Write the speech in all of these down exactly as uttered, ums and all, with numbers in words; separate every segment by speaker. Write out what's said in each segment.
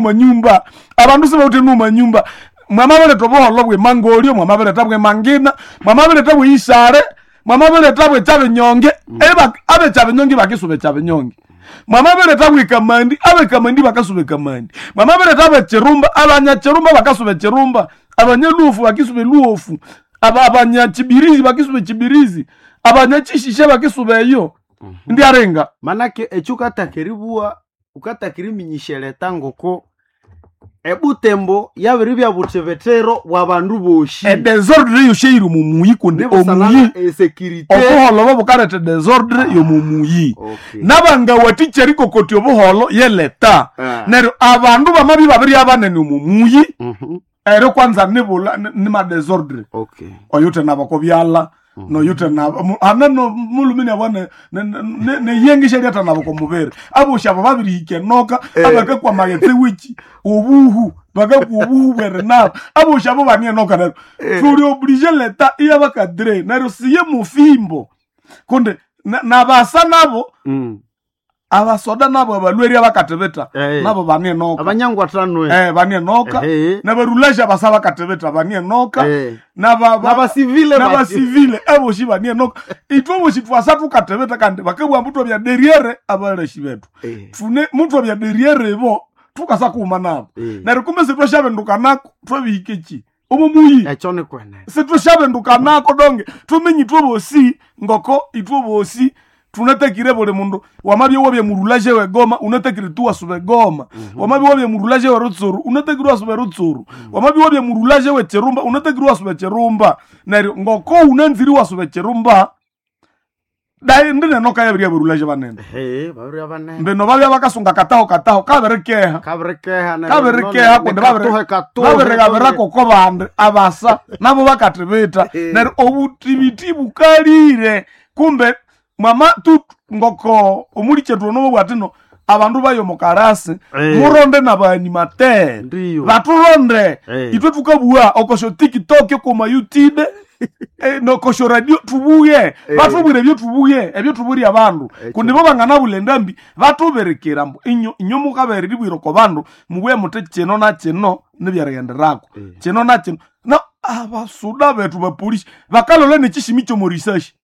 Speaker 1: manyumba abandu sibawithe manyumba mwamabiretha obuholho bw'emangolyo mwamabiretha bw'emangina mwamabiretha bw'eyisare mwamabiretha bw'ekyabinyonge eba- ab'ekyabinyonge bakisuba ekyabinyonge mwamabiretha bw'ekamandi ab'ekamandi bakasuba ekamandi mwamabiretha b'ekirumba abanyakirumba bakasuba ekirumba abanyaluofu bakisuba eluofu aba- abanyakibirizi bakisuba ekibirizi abanyakishisha bakisuba eyo ndiarenga
Speaker 2: Manake ekyo ukataka eribugha ukataka eriminyisya ngoko ebutembo yabiribya buthibithiro bw'abandu boshi
Speaker 1: edesordre yosheiri omumuyi kundi omuyi
Speaker 2: nibusanana esecurity
Speaker 1: obuholo bobukaletha edesordre yomumuyi
Speaker 2: Okay.
Speaker 1: nabangawathikya erikokotya obuholo yeleta
Speaker 2: Ah.
Speaker 1: neryo abandu bamabya babiri abanene omumuyi
Speaker 2: Mhm.
Speaker 1: eryo kwanza nibula nimadesordre
Speaker 2: Okay.
Speaker 1: oyuthe nabo kobyala noyuthe nabo mu- hane no mulumini abo ne- ne- ne- neyengisha lyatha nabo komubiri aboshi abo babirihika enoka abakakwa maghetse wiki obuhu bakakwa obuhu bwerinabo aboshi abo bani enoka neryo tuli oblige leta iyabakadire neryo siye mufimbo kundi na- nabasa nabo
Speaker 2: Mm.
Speaker 1: abasoda nabo abalweri abakathibita
Speaker 2: Eh.
Speaker 1: nabo bani enoka
Speaker 2: Abanyangwathanwe.
Speaker 1: eh bani enoka
Speaker 2: Ehe.
Speaker 1: nabarulasha basa bakatibita bani enoka
Speaker 2: Eh.
Speaker 1: naba ba-
Speaker 2: N'abasivile bati.
Speaker 1: n'abasivile aboshi bani enoka ithwe boshi twasa tukatibita kandi bakabugha mbu twabya derriere abaleshi bethu
Speaker 2: Eh.
Speaker 1: tune muthu abya derriere ibo tukasa kuuma nabo
Speaker 2: Eh.
Speaker 1: neryo kumbe sitwashabendukanako twabihika eki omo muyi
Speaker 2: Ekyo ni kwenene.
Speaker 1: sitwashabendukanako donge tumenye ithwe bosi ngoko ithwe bosi tunatakire buli mundu wamabya wabya murulaje wegoma unatakire tu wasuba egoma wamabya wabya murulaje werutsuru unatakire wasuba erutsuru wamabya wabya murulaje wechirumba unatakire wasuba echirumba neryo ngoko unanziri wasuba echirumba dai ndinenoka yabiri abarulaje banene
Speaker 2: Ehe, babiribya banene.
Speaker 1: mbino babya bakasunga kataho kataho kabirikeha
Speaker 2: Kabirikeha neryo
Speaker 1: kabirikeha
Speaker 2: none-
Speaker 1: kundi
Speaker 2: nekatuhe katuhe,
Speaker 1: babirigabirako ko bandi abasa nabo bakathibita neryo obutibiti bukalire kumbe mwama tu ngoko omulikyetu ono bwatino abandu bayo mukarasi
Speaker 2: Eh.
Speaker 1: muronde nabaanimatere
Speaker 2: Ndiyo.
Speaker 1: baturonde
Speaker 2: Eh.
Speaker 1: itwe tukabugha okosho tiktok okoma youtube eh, nokosho radio tubuye batubwire ebyo tubuye ebyo tubwire abandu kundi bo banganabula endambi batubirikira mbu inyo inyo mukabere ribwire oko bandu mubuye muthi kino na kino nibyerighenderako kino na kino na abasuda bethu bapolisi bakalola nekishimi kyomorisashi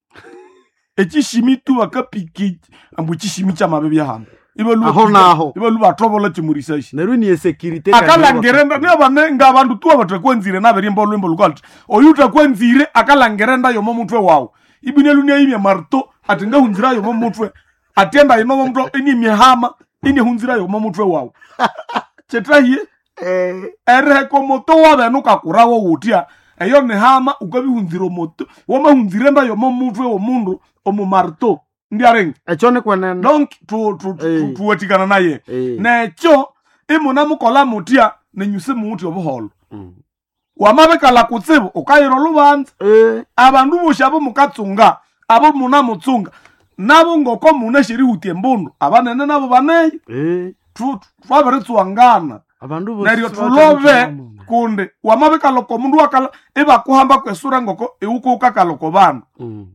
Speaker 1: ekishimi tu bakapika ambu ekishimi kyamabi byahano
Speaker 2: Aho naho.
Speaker 1: ibalu bathobola kyomorisashi
Speaker 2: Neryo ni esecurity
Speaker 1: akalangirenda niabane ngabandu tu abathakwanzire nabirimba olwimbo lukalthi oyu uthakwanzire akalangirenda yomo mutwe wawu ibine lunia marto ati ngahunzira yomo mutwe atienda inomo mutwe inimihama inihunzira yomo mutwe wawu kyetahiye eriheka omoto wabene ukakurawo wutya eyo nihama ukabihunzira omoto wamahunzirenda yomo mutwe womundu omumarto ndiarenga
Speaker 2: Ekyo ni kwenene.
Speaker 1: donc tu- tu- tu-
Speaker 2: Eh.
Speaker 1: tuwathikana naye
Speaker 2: Eh.
Speaker 1: nekyo imunamukola mutya nenyu simuwuthe obuholo
Speaker 2: Mm.
Speaker 1: wamabikala kutsibu ukayira olubanza
Speaker 2: Eh.
Speaker 1: abandu bosi abo mukatsunga abo munamutsunga nabo ngoko munasherihuta embundu abanene nabo baneyo
Speaker 2: Eh.
Speaker 1: Tu- twabiritsuwangana
Speaker 2: Abandu bosi
Speaker 1: neryo
Speaker 2: sibathe
Speaker 1: tulove
Speaker 2: muthima.
Speaker 1: kundi wamabikala oko mundu wakala ibakuhamba kwesura ngoko iwuko ukakala oko bandu
Speaker 2: Mm.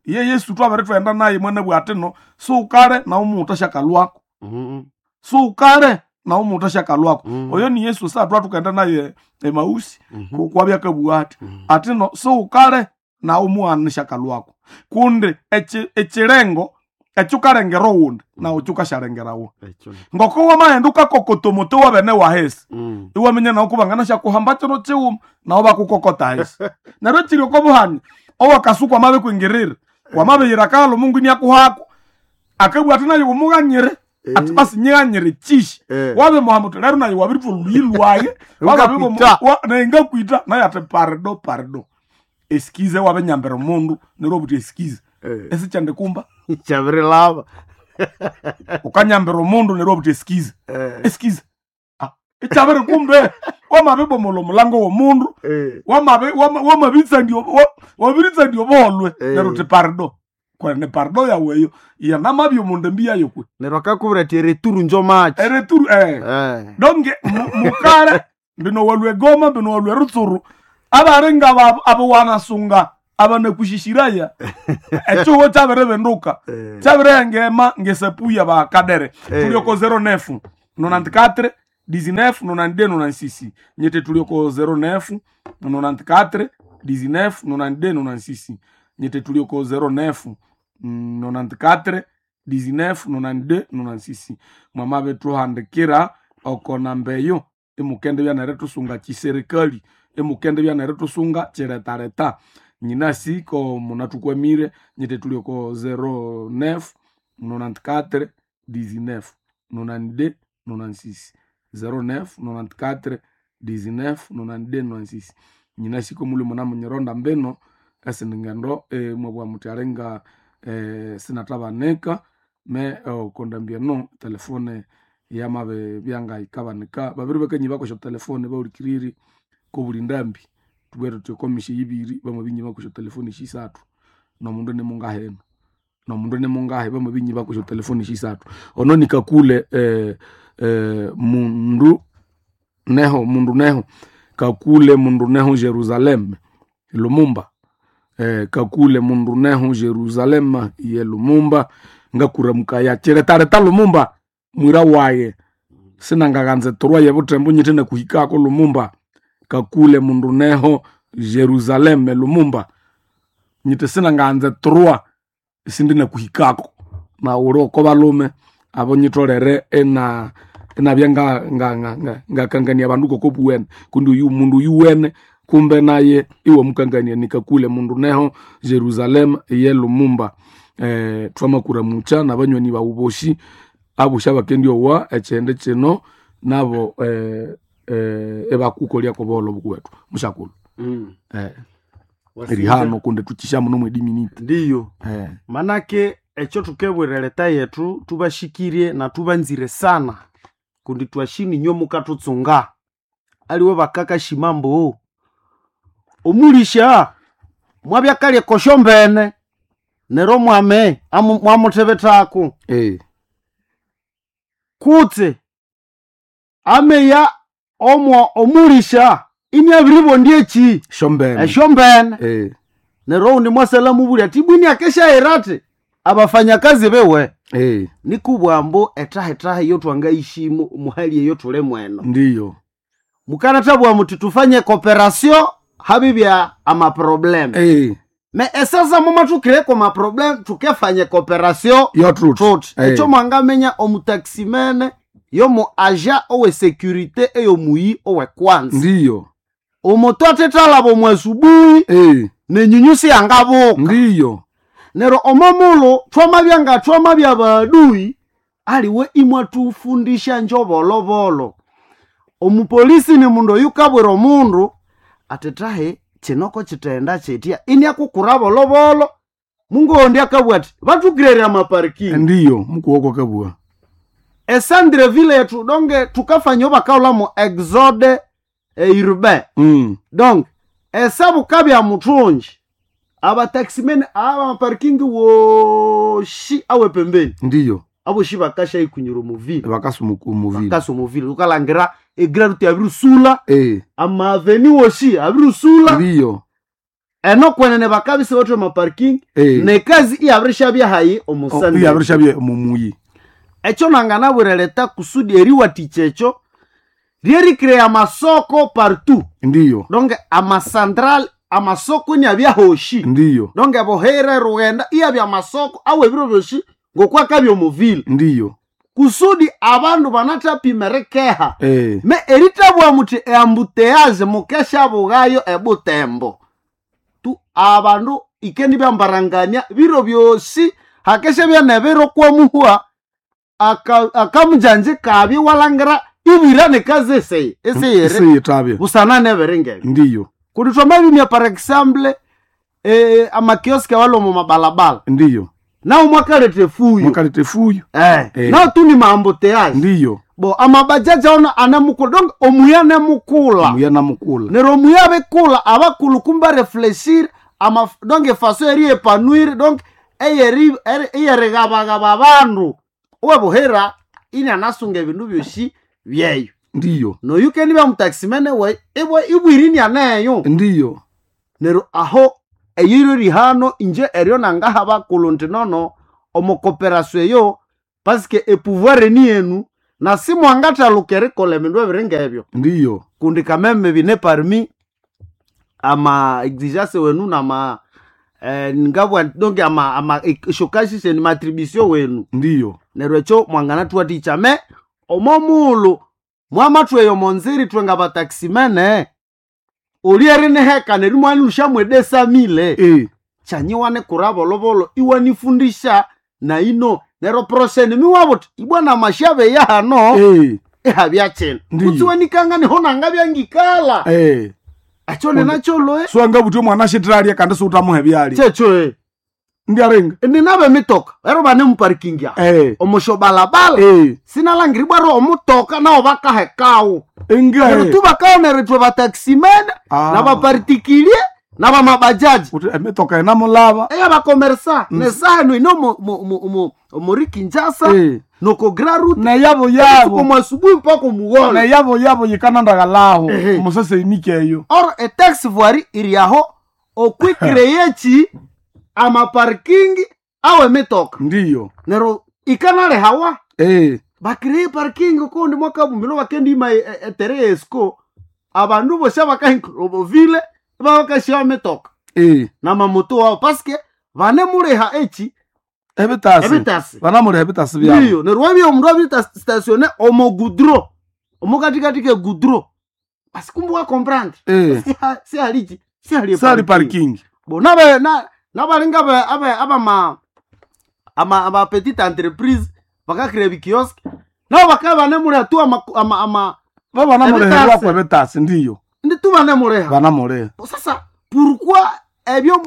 Speaker 1: ye yesu twabirithwenda naye mwana bwatino suukale nawe umuta syakalwako
Speaker 2: Mm.
Speaker 1: suukale nawe umuta syakalwako
Speaker 2: Mm.
Speaker 1: oyo ni yesu satwa tukaenda naye emausi
Speaker 2: Mhm.
Speaker 1: kwabya kabugha ati atino suukale nawe umughana syakalwako kundi eki- ekirengo ekyukalengera owundi nawe kyukashalengerawo
Speaker 2: Ekyo ni-
Speaker 1: ngoko wamaghenda ukakokota omuti wabene wahesi
Speaker 2: Mm.
Speaker 1: iwaminya nawe kubangana syakuhamba kino kiwuma nawe bakukokota hesi neryo kiri okobuhanya owakasuku wamabikwingirira wamabiyira kalo mungu iniakuhako akabugha ati naye umughanyire ati basi nyighanyire kishi
Speaker 2: Eh.
Speaker 1: wabimuhamba uthi lero naye wabirithwa oluyi lwaye
Speaker 2: Ngakwita.
Speaker 1: nengakwita naye ati parido parido esikize wabinyambira omundu neryo obuthi esikize
Speaker 2: Eh.
Speaker 1: esichandikumba
Speaker 2: Kyabirilaba.
Speaker 1: ukanyambira omundu neryo obuthi esikize
Speaker 2: Eh.
Speaker 1: esikize Ah, ikyabiri kumbe wamabibomola omulango womundu
Speaker 2: Eh.
Speaker 1: wamabi- wama- wamabitsandia wa- wabiritsandia obuholwe
Speaker 2: Eh.
Speaker 1: neryo uthi parido kwene parido yaweyo yanamabya omundu embi yayo kwe
Speaker 2: Neryo akakubwira ati ereturu njo machi.
Speaker 1: ereturu eh.
Speaker 2: Eh.
Speaker 1: donge mu- mukale mbino walwe goma mbino walwe rutsuru abari ngaba abo wanasunga abanakushishiraya ekihugo kyabiribenduka
Speaker 2: Eh.
Speaker 1: kyabirihengema ngesapuya bakadere
Speaker 2: Eh.
Speaker 1: tulioko zero nefu nonante quatre dix-neuf nonante-deux nonante-six nyete tulioko zéro neuf nonante-quatre dix-neuf nonante-deux nonante-six nyete tulioko zéro neuf nonante-quatre dix-neuf nonante-deux nonante-six mwamabe tuhandikira oko namba eyo imukende byanere tusunga chiserikali imukende byanere tusunga chiretareta nyinasi ko munatukwamire nyete tulioko zéro neuf nonante-quatre dix-neuf nonante-deux nonante-six zéro neuf nonante-quatre dix-neuf nonante-deux nonante-six nyinasi ko muli muna munyironda mbino esindi ngendo eh, mwabwa muti alinga eh, sinatabanika me okondambia no telefone yamabe byangayikabanika babiri bakanyi bakosha telefone baulikiriri kobuli ndambi tubwere tuti okomisha ibiri bamabinyi bakosha telefone shisathu nomundu nimungaheno nomundu nimungahe bamabinyi bakosha telefone shisathu ono nikakule eh, eh, mundu neho mundu neho kakule mundu neho Jerusalem Lumumba eh, kakule mundu neho Jerusalem ye Lumumba ngakuramuka chiretareta Lumumba mwira waye sinangaganze torwa ye butembo nyite nakuhikako Lumumba kakule mundu neho Jerusalem Lumumba nyite sinanganze torwa sindi nakuhikako na uroko balume abo nyitolere ena enabya nga nga nga nga ngakangania abandu koko buwene kundi uyu mundu yuwene kumbe naye iwe mukangania nikakule mundu neho Jerusalem ye Lumumba eh, twamakura mucha nabanywani bawu boshi abusha bakendi owa echende kino nabo eh, eh, ebakukolya kobolo bukuwetu mushakulu
Speaker 2: mm.
Speaker 1: eh, rihano kundi tukisha muno mwedi minute
Speaker 2: ndiyo
Speaker 1: eh,
Speaker 2: manake ekyo tukebwira leta yetu tubashikirie na tubanzire sana kundi twashini inywe mukatutsunga aliwe bakakashima mbu omulisha mwabyakalya kosho mbene nero mwame amu- mwamuthebethako
Speaker 1: eh,
Speaker 2: kutse ameya omwo omulisha ini abiribondya eki
Speaker 1: shombene
Speaker 2: esyo mbene
Speaker 1: eh,
Speaker 2: nero undi mwasala mubulya ati bwini akeshahera ati abafanyakazi bewe
Speaker 1: eh,
Speaker 2: nikubwambo etahetaha iyo twangaishimu muhali eyo tuli mweno
Speaker 1: ndiyo
Speaker 2: mukanathabwa muti tufanye cooperation habibya amaprobleme
Speaker 1: eh,
Speaker 2: me esasa mumathukireko maprobleme tukefanye cooperation
Speaker 1: yo truth
Speaker 2: tuti
Speaker 1: Eh.
Speaker 2: ekyo mwangamenya omutaximene yomu aja owe securite eyomuyi owekwanza
Speaker 1: ndiyo
Speaker 2: omutu athethalaba omu asubuhi
Speaker 1: eh,
Speaker 2: nenyunyusi yangabuka
Speaker 1: ndiyo
Speaker 2: nero omomulhu thwamabya nga thwamabya baadui aliwe imwatufundisha njobolobolo omupolisi ni mundu oyukabwira omundu ati tahe kinoko kithenda kyitya iniakukura bolobolo mungondi akabwa ati bathukirere amaparikingi
Speaker 1: ndiyo mukuwoko kabua
Speaker 2: esandreville yetu donge tukafanya bakaulamo exode eh, urbain
Speaker 1: mm.
Speaker 2: donc esabukabya muthungi abataximene aba maparkingi woshi awe pembeni
Speaker 1: ndiyo
Speaker 2: aboshi bakasha ikunyura omuvile
Speaker 1: bakasumukumuvile
Speaker 2: bakasa omuvile ukalangira egraruti abirusula
Speaker 1: eh,
Speaker 2: amaveni woshi abirusula
Speaker 1: ndiyo
Speaker 2: eno kwenene bakabisa bathu amaparking
Speaker 1: eh.
Speaker 2: nekazi iyabirishabya hayi omusande
Speaker 1: iyabirishabye mumuyi
Speaker 2: ekyo nanganabwira leta kusudi eriwatikya ekyo lyerikirya amasoko partout
Speaker 1: ndiyo
Speaker 2: donc amasantral amasoko niabyahoshi
Speaker 1: ndiyo
Speaker 2: donc buhere rughenda iyabya amasoko awe ebiro byoshi ngokwakabya omuvile
Speaker 1: ndiyo
Speaker 2: kusudi abandu banathapima erikeha
Speaker 1: eh.
Speaker 2: me eritabwa muthi eambuteyaje mukeshabughayo ebutembo tu abandu ikendi byambarangania biro byosi hakesha nebiro kwamuhwa aka- akamujanje kabi walangira ibwira nekazi eseye eseyere
Speaker 1: isiyitabye
Speaker 2: busana nebiringebyo
Speaker 1: ndiyo
Speaker 2: kundi twamabimya par exemple eh, amakioski awali omu mabalabala
Speaker 1: ndiyo
Speaker 2: nawo mwakaleta efuyo
Speaker 1: mwakaleta efuyo
Speaker 2: eh,
Speaker 1: Eh.
Speaker 2: nawo tu ni maambuteyaje
Speaker 1: ndiyo
Speaker 2: bo amabajaji aono anamukula donc omuya nemukula
Speaker 1: muya namukula
Speaker 2: nero omuya abikula abakulu kumba refleshir ama donc efaso eriepanuire donc eyeri eri- eyerigabagaba abandu owebuhera ini anasunga ebindu byosi byeyo
Speaker 1: ndiyo
Speaker 2: noyukeni byamutaximene we ibwe ibwiri aneyo
Speaker 1: ndiyo
Speaker 2: nero aho eyiro rihano inje eryo nangaha bakulu nti nono omukoperasio eyo paske epouvoir ni yenu Na simwangathaluka erikolha ebindu ebiri ngebyo.
Speaker 1: Ndiyo.
Speaker 2: Kundi kameme bine parmi ama exigence wenu nama eh, ngabwa donc ama ama shokashishe ni matribution wenu.
Speaker 1: Ndiyo.
Speaker 2: Neryo ekyo mwanganathuwathikya me omo muulu mwamathwa eyo monziri ithwe nga bataximene oli eriniheka neryo imwanilhusyamu edesamile
Speaker 1: Eh.
Speaker 2: kyanyiwane kura bolobolo iwanifundisha naino neryo prosheni miwabuthi ibwana mashabe yahano
Speaker 1: Eh.
Speaker 2: ihabya kino
Speaker 1: Ndiyo.
Speaker 2: kutsi wanikanga niho nangabya
Speaker 1: Eh.
Speaker 2: ekyo ninakyo
Speaker 1: Swangabuthi omwana shitiralia kandi siwuthamuha ebyalya.
Speaker 2: kyekyo e
Speaker 1: Ndiaringa.
Speaker 2: ninabe emitoka ero bane muparking aho
Speaker 1: Eh.
Speaker 2: omusho balabala
Speaker 1: Eh.
Speaker 2: sinalangiri bwaro omutoka nawo bakahekawo
Speaker 1: Inga.
Speaker 2: neryo tubakaonera ithwe bataximene
Speaker 1: Ah.
Speaker 2: nabapartikilie nabamabajaji
Speaker 1: Uthi emitoka inamulaba.
Speaker 2: eyabakomersa nesaha eno ino mu- mu- mu- mu- omuri Kinshasa
Speaker 1: Eh.
Speaker 2: noko Grand Route
Speaker 1: Neyabo yabo.
Speaker 2: omu asubuhi mpaka omugholo
Speaker 1: Neyabo yabo yikanandagalaho.
Speaker 2: Ehe.
Speaker 1: Omusase eyo.
Speaker 2: or etaxi voirie iri aho okwikireyeki amaparking awe emitoka
Speaker 1: Ndiyo.
Speaker 2: neryo ikanalehawa
Speaker 1: Eh.
Speaker 2: bakireye parking kundi mwakabumilo bakendima etere esco abandu bosi abakahinkrovile babakashiwa emitoka
Speaker 1: Eh.
Speaker 2: namamoto wabo paske vanemuleha eki
Speaker 1: Ebitasi.
Speaker 2: ebitasi
Speaker 1: Banamuleha ebitasi byabo.
Speaker 2: ndiyo neryo wabya omundu abiri omo gudro omukatikati ke gudro basi kumbe wakomprendre
Speaker 1: Eh.
Speaker 2: sihaliki sihali
Speaker 1: Sali parking.
Speaker 2: bo nabe na nabalinga abe abe abama ama ama petite entreprise bakakira bikiosk nabo bakaba banemuleha tu ama ama, ama
Speaker 1: Babanamuleha
Speaker 2: Ebitasi.
Speaker 1: kwa ebitasi ndiyo.
Speaker 2: ndi tu banemuleha
Speaker 1: Banamuleha.
Speaker 2: sasa pourquoi ebyo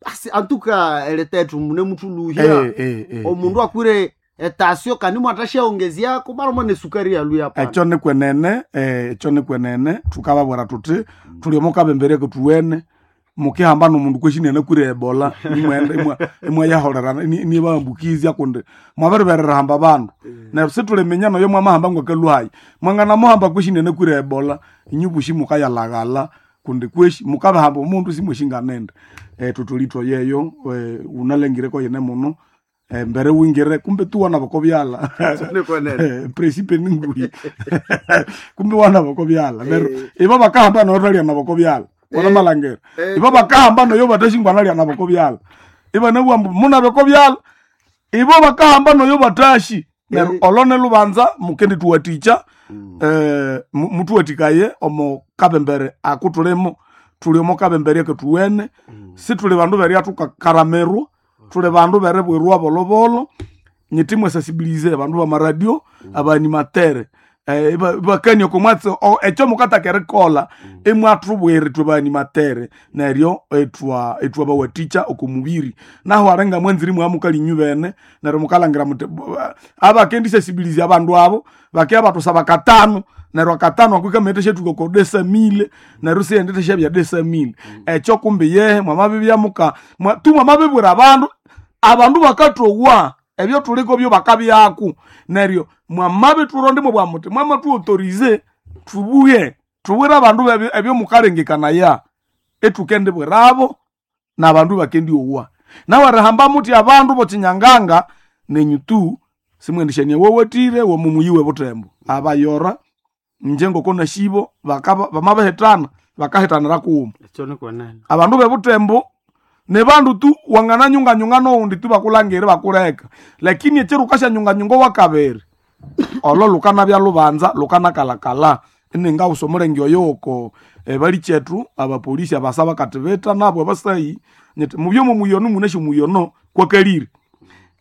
Speaker 2: basi en tout cas eletetu mune mutuluhya
Speaker 1: Eh eh eh.
Speaker 2: omundu akwire etasio kandi mwatashaongezyako barimo nesukari yaluya pana
Speaker 1: Ekyo nikwenene, eh, ekyo nikwenene thukababwira thuthi thuli omo kabembereko thuwene mukihamba nomundu kweshinene kwire ebola imwenda imwa- imwayaholerana nibambukizya kundi mwabiriberera hamba bandu neryo situliminya noyo mwamahamba ngwakaluhayi mwanganamuhamba kweshinene kwire ebola inyu bushi mukayalaghala kundi kweshi mukabahamba omundu simweshinganende eh, tutulitwa yeyo eh, unalengireko yene muno eh, mbere wingire kumbe tuwana bokobyala Eh, principe ninguyi kumbe wana bokobyala neryo ibo bakahamba noyo na bokobyala wana malangera ibo bakahamba noyo batashingwana lya na bokobyala iba nabwambu muna bokobyala ibo bakahamba noyo batashi neryo olone lubanza mukendi tuwaticha eh, mu- mutuwatikaye omo kabembere akutulimo tuli omo kabembere ketuwene situli bandu beria tukakaramirwa tuli bandu berebwirwa bolobolo nyiti mwesasibilize bandu bamaradio abanimatere eh, iba- ibakania komwatsi ekyo mukataka erikola imwathubwire ithwe baanimatere neryo etwa etwa bawaticha okomubiri naho arenga mwanziri mwamukalinyu bene neryo mukalangira muti abakendisasibilize abandu abo bakeya batusaba katano neryo akatano akwikamete shethuka ko desamile neryo siyendete syabya desamile ekyo kumbi yehe mwamabibya muka mwa- tu mwamabibwira abandu abandu bakathowa ebyo thuliko byo bakabyaku neryo mwamabithuronde bwa muti mwamatuautorize thubuye thubwire abandu bebyo ebyo mukalengekanaya ethukendibwirabo nabandu bakendiowa nawe erihamba muti abandu bokinyanganga nenyu tu simwendishania wowatire womumuyiwe butembo abayora nje ngoko nashibo bakaba bamabahitana bakahitanira kuwuma
Speaker 2: ekyo nikwenene
Speaker 1: abandu bebutembo ne bandu tu wangananyunganyunga noundi tu bakulangire bakuleka lakini ekiro ukashanyunganyunga wakabiri olo lukanabya lubanza lukanakalakala ininga usa omulenge oyo oko balichethu abapolisi abasa bakatibita nabo abasayi nyiti mubyomo muyono munasyo muyono kwakalire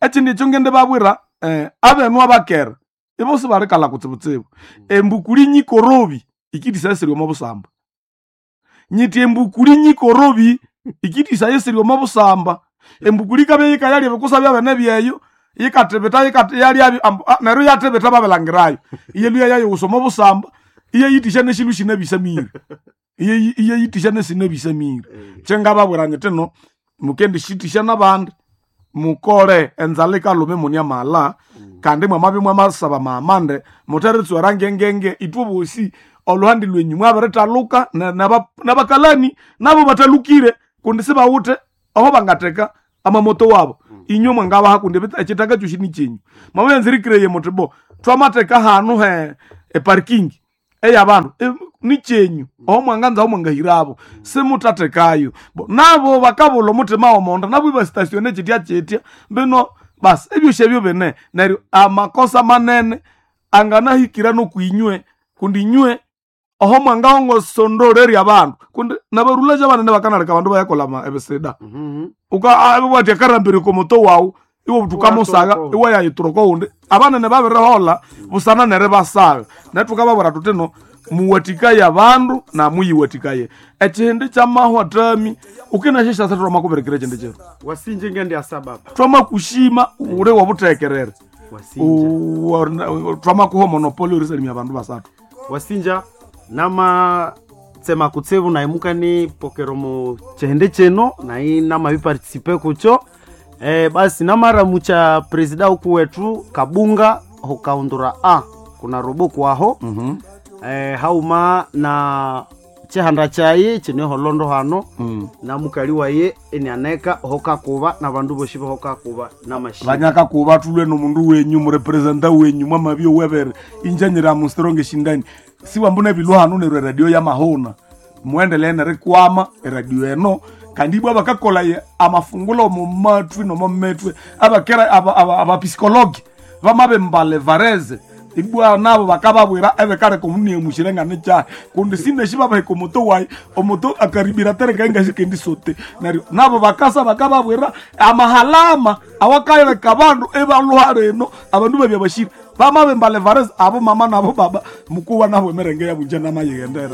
Speaker 1: ekindi ekyo ngende babwira eh, abenu abakera ibo sibalikalha kutsibutsibu embukuli nyikorobi ikidisasiri omo busamba nyiti embukuli nyikorobi ikidisayisiri omo busamba embukuli kabya yikayalya ebikusa byabene byeyo yikatibita yikati- yalyabyo ambu- ah, neryo yatibita babilangirayo iyeluya yayiwusa omo busamba iyeyitisha neshindu shina bisamire Iye- iyeyitisha nesina bisamire kyengababwira nyiti no mukendishitisha nabandi mukole enzala ikalume munia mala kandi mwamabya mwamasaba maamande muteritswera ngengenge ithwe bosi oluhandi lwenyu mwabirithaluka na- naba- nabakalani nabo batalukire kundi sibawuthe aho bangateka amamoto wabo inywe mwangabaha kundi ebit- ekitaka kyosi ni kyenyu mwabyanzirikireye muthi bo Twamateka hanu he eparking eyabandu e, nikyenyu oho mwanganza aho mwangahirabo simutatekayo. Bo, nabo bakabula omutima womonda nabo ibastasione kyitya kyitya mbino basi ebyosi ebyo bine. Neryo amakosa manene anganahikira nokwinywe kundi inywe oho mwangahongosondolerya abandu kundi nabarulaja banene bakanaleka abandu bayakola ama- ebisida.
Speaker 2: Mhm.
Speaker 1: Uka wati akarambire komoto wawu iwe tukamusaga
Speaker 2: Iwaturoko.
Speaker 1: iwe yayituroko undi abanene babirihola busana nere basaga netukababwira tutino muwatikaye abandu na muyiwatikaye ekihindi kyamahwa tami ukinashishasa twamakubirikira ekindi kiro.
Speaker 2: Wasinje ngendi asababa.
Speaker 1: Twamakushima uri wobutekerere.
Speaker 2: Wasinja.
Speaker 1: Twamakuha monopoli orisalimia abandu basathu.
Speaker 2: Wasinja nama tsema kutsevu naimuka ni pokero mu chihende cheno nai namabipartisipe kucho eh, basi namaramucha presida huku wetu kabunga hukaundura a kuna robo kwaho.
Speaker 1: mm
Speaker 2: eh, hauma na chihanda chaye chineholondo hano
Speaker 1: -hmm.
Speaker 2: na mukali waye enianeka hokakuba na bandu boshi bohokakuba namashi.
Speaker 1: Vanyakakuva tulwe nomundu wenyu murepresenta wenyu mwamabio wevere injanyira mustronge shindani siwambuna ebilu hanu neryo eradio ya mahona muendelee nerikwama eradio eno kandi ibwa bakakola ye amafungulo mumatwi nomometwe abakera abapisikologi bamabembale vareze ibwa nabo bakababwira ebikaleka omuniemushire ngane kyahe kundi sineshi babaheka omuto wayi omuto akaribira tereka ingashikendi sote. Neryo nabo bakasa bakababwira amahalama awakaleka abandu ebaluha reno abandu babya bashira bamabembale vareze abo mama nabo baba mukuwa nabo emerenge yabunje namayighendere.